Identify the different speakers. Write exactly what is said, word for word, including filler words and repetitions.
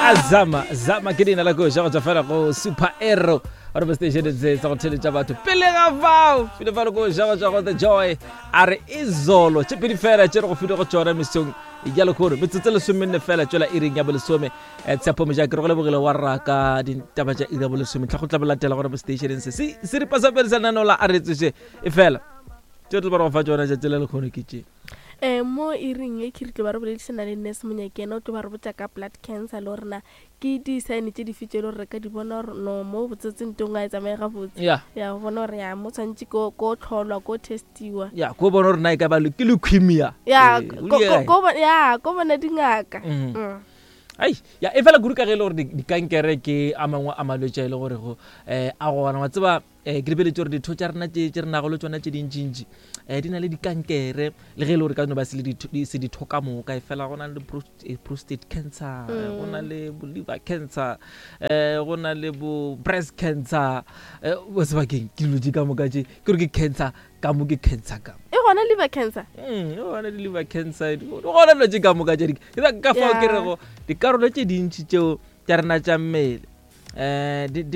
Speaker 1: Azama zama ke leina la koša go tswa fela go Super Arrow gore mo stationeng se sa go theletša batho pele ga fao file fale koša go tswa go The Joy, a re Izolo. Tše pedi fela tše re go file go tšona mesong ya lekgono, metsotso lesomenne fela tswela iring ya bolesome. um Tshepo Mojake, re go lebogile wa raka ditaba tša iri ya bolesome tlha go tla bolatela gore mo stationeng se se seripa sa pele sa lenaneo la a re tsoše. E fela tše tlo ba re go fa tšona tšatši la lekgono ke tše
Speaker 2: um mo iring e ke re tlo ba re boledišana le nurse Monyakena, o tlo ba re botša ka blood cancer le gore na ke di-sign tše dife tše e le gore re ka di bona gore no mo botsetse ntong a e tsamaye gabotse.
Speaker 1: Ya
Speaker 2: ya go bona gore ya mo tshwanetse ko ko tlholwa, ko testiwa.
Speaker 1: Ya, ko bona gore na e ka ba le- ke leukemia.
Speaker 2: Ya.
Speaker 1: Eh, o
Speaker 2: ko-
Speaker 1: di
Speaker 2: ko-
Speaker 1: kae?
Speaker 2: ko bo- ya ko bona dingaka.
Speaker 1: Mhm.
Speaker 2: Mm.
Speaker 1: Ai ya, e fela kudu ka ge e le gore di- dikankere ke a mangwe a malwetse a e le gorego um a gona wa tseba. um ke lebeletse gore ditho tša rena tše tše re nago le tsona tše dintšintši um di na le dikankere, le ge e le gore ka no ba se le ditho- di- se ditho ka moka, e fela go na le prost- eh, prostate cancer, eh, go na le bo liver cancer, um go na le bo breast cancer. um sebakeng ke dilo tše ka moka tše ke gore ke cancer ka mo, ke cancer ka mo.
Speaker 2: E gona liver cancer?
Speaker 1: Mm, e gona di-liver cancer, di gona dilo tše ka moka tše di- ke ka- ka fao ke
Speaker 2: Yeah.
Speaker 1: rego dikarolo tše dintši tšeo tša rena tša mmele um di di